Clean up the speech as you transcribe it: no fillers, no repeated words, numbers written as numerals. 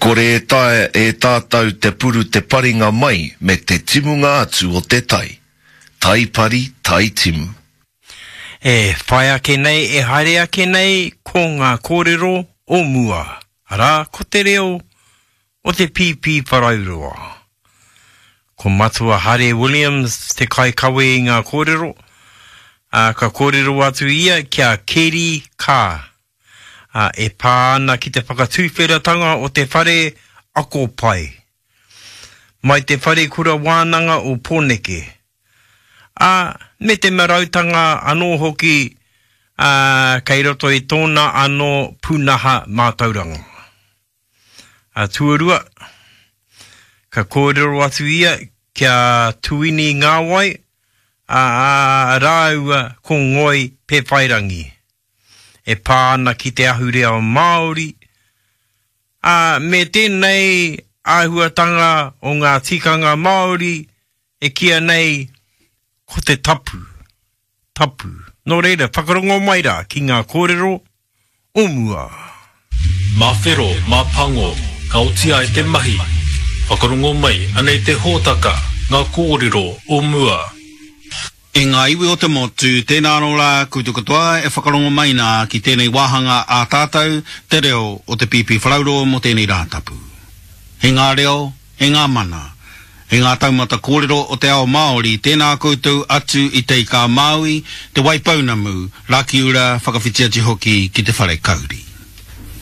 kore e taea e tātou te puru te paringa mai me te timunga atu o te tai. Tai pari, tai timu. E whai ake nei, e haere ake nei ko ngā kōrero o mua, arā, ko te reo o te Pīpīwharauroa. Ko Matua Hare Williams te kaikawe i ngā kōrero, ā, ka kōrero atu ia ki a Keri Kaa, ā, e pā ana ki te whakatuwheratanga o te whare ako pai, mai te Wharekura Wānanga o Pōneke, ā, me te marautanga anō hoki, ā, kei roto i tōna anō pūnaha mātauranga. Ā, tuarua, ka kōrero atu ia ki a Tuini Ngāwai, ā, rāua ko Ngoi Pēwhairangi, e pā ana ki te ahurea Māori, ā, me tēnei āhuatanga o ngā tikanga Māori e kīa nei ko te tapu, tapu. Nō reira, whakarongo mai rā ki ngā kōrero o mua. Mā whero, mā pango, ka oti ai te mahi. Whakarongo mai, anei te hōtaka, ngā kōrero o mua. E ngā iwi o te motu, tēnā anō rā koutou katoa e whakarongo mai nā ki tēnei wāhanga ā tātou, te reo o te Pīpīwharauroa mō tēnei Rātapu. He ngā reo, E ngā mana, e ngā taumata kōrero o te ao Māori, tēnā koutou atu i Te Ika-a-Māui, Te Waipounamu, Rakiura, whakawhiti atu hoki ki Te Whare Kauri.